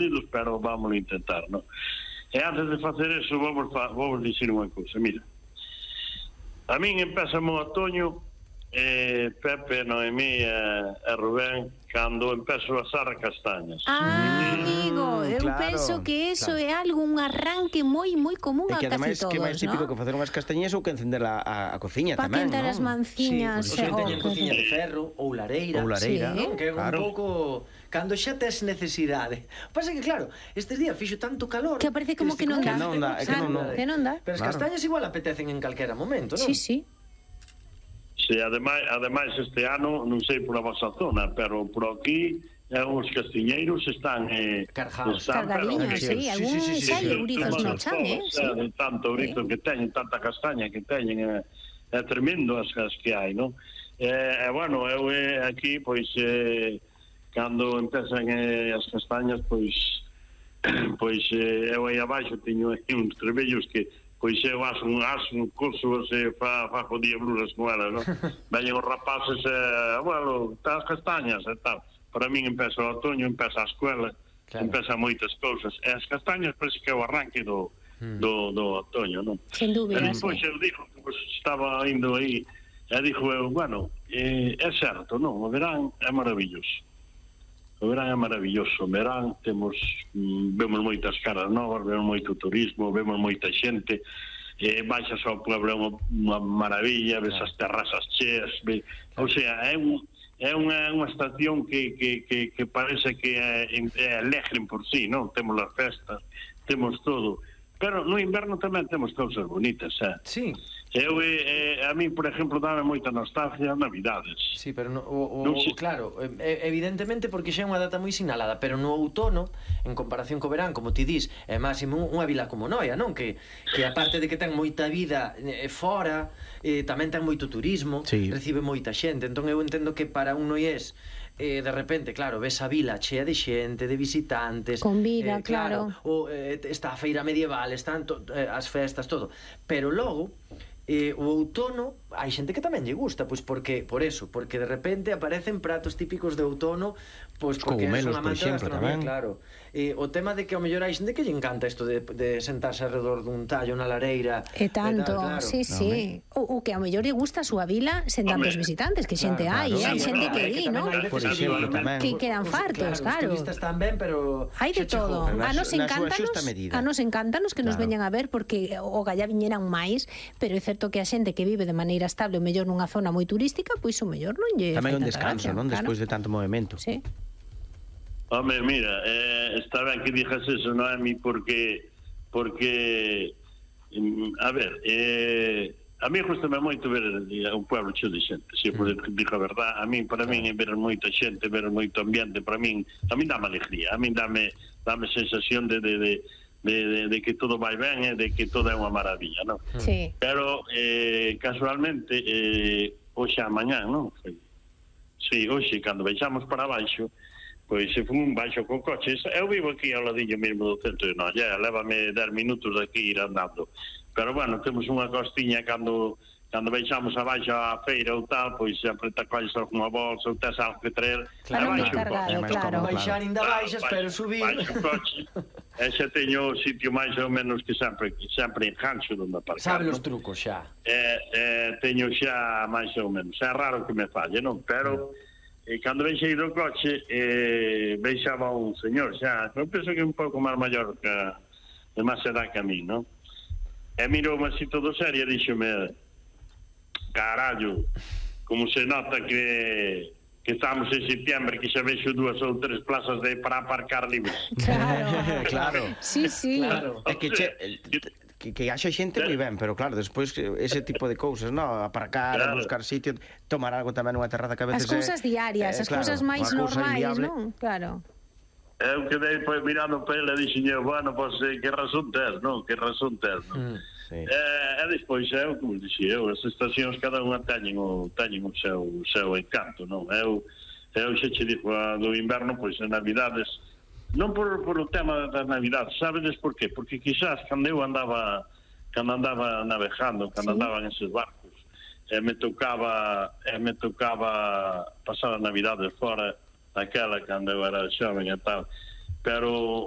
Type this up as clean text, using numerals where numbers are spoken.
partidos, pero vamos a intentar, non? E antes de facer eso, vamos dicir unha cousa, mira. A min empeza o outoño, Pepe, Noemí e Rubén, cando empezo a asar castañas. Amigo, eu penso que eso é algo, un arranque moi común a casi todos, non? E que ademais que máis típico que facer unhas castañas ou que encender a cociña tamén, non? Pa quentar as manciñas. Sí, pois teñen cociña de ferro ou lareira, non? Que é un pouco... Cando xa tes necesidade. Pasa que, claro, estes días fixo tanto calor... Que parece como que non dá. Que non dá. Pero as castañas igual apetecen en calquera momento, non? Sí, sí. Sí, ademais este ano, non sei por a vosa zona, pero por aquí os castiñeiros están cargados, cargadiños, sí, algún xa eurizos no chan, de tanto ourizo que teñen, tanta castaña que teñen, é tremendo as que hai, non? Bueno, eu aquí, pois, cando empezan as castañas, pois eu aí abaixo teño uns trebellos que pois eu aso un curso e fajo diabluras con elas, non? Veñen os rapaces, bueno, as castañas e tal. Para min empeza o outoño, empeza a escuela, empeza moitas cousas. E as castañas parece que é o arranque do outoño, non? Sin dúbida, e depois eu dixo, pues, estaba indo aí, e dixo eu, bueno, é certo, non? O verán é maravilloso. O verán é maravilloso. O verán vemos moitas caras novas, vemos moito turismo, vemos moita xente, baixas ao pueblo, é unha maravilla, ves as terrazas cheas, o sea, é unha estación que parece que é alegre por sí, non? Temos as festas, temos todo, pero no inverno tamén temos cousas bonitas, Sí. A mí, por exemplo, dame moita nostalgia Navidades. Sí, pero claro, evidentemente porque xa é unha data moi sinalada, pero no outono, en comparación co verán, como ti dis, é máximo unha vila como Noia, non? Que aparte de que ten moita vida fora, tamén ten moito turismo, recibe moita xente, entón eu entendo que para un noiés de repente, claro, ves a vila chea de xente, de visitantes, con vida, claro. Ou está a feira medieval, están as festas, todo, pero logo o outono hai xente que tamén lle gusta, pois porque de repente aparecen pratos típicos de outono, pois porque é unha amante da gastronomía, claro. O tema de que ao mellor hai xente que lle encanta isto de sentarse alrededor dun tallo na lareira. E tanto, sí. O que ao mellor lle gusta a súa vila sen tantos visitantes, que xente hai, hai xente que di, non? Por exemplo, tamén. Que quedan fartos, claro. Os turistas tamén, pero hai de todo. A nos encantanos que nos veñan a ver, porque o galla viñeran máis, pero é certo que a xente que vive de maneira estable o mellor nunha zona moi turística, pois o mellor non lle tamén un descanso, non? Despois de tanto movimento. Sí. Home, mira, está ben que dixas eso, Noemi, porque a ver, a mí gustame moito ver un pueblo cheo de xente, se dixo a verdad. A mí, para min, ver moita xente, ver moito ambiente, para min, a min dame alegría, a min dame sensación de que todo vai ben, de que todo é unha maravilla, non? Sí. Pero, casualmente, hoxe a mañán, non? Sí, hoxe, cando baixamos para baixo, pois se fun baixo co coche, eu vivo aquí ao ladillo mesmo do centro de Noia, lévame 10 minutos de aquí ir andando, pero bueno, temos unha costiña cando baixamos abaixo á feira ou tal, pois sempre te colles algunha bolsa ou tes algo que traer, para non descargar, claro. Baixar ainda baixas, pero subir. Baixo o coche, e xa teño o sitio máis ou menos que sempre engancho onde aparcar. Sabe os trucos xa. Teño xa máis ou menos, é raro que me falle, non? Pero cando baixei do coche baixaba un señor xa, eu penso que un pouco máis maior que de máis edad que a mí, non? E mirou-me así todo serio e díxome: carallo, como se nota que estamos en septiembre, que xa vexo 2 ou 3 plazas para aparcar libres. Claro. Sí. Claro. É que haxa xente moi ben, pero claro, despois ese tipo de cousas, non? Aparcar, buscar sitio, tomar algo tamén nunha terraza que a veces as cousas diarias, as cousas máis normais, non? Claro. Eu quedei mirando para ele e dixen, bueno, pois que razón tes, non? Que razón tes, non? E despois como dixi eu, as estacións cada unha teñen o seu encanto, non? Eu xa che dixo do inverno, pois en Navidades, non por o tema das Navidades, sabedes por qué? Porque quizás cando eu andaba navegando, cando andaba en esos barcos, me tocaba pasar as Navidades fora daquela cando eu era xoven e tal, pero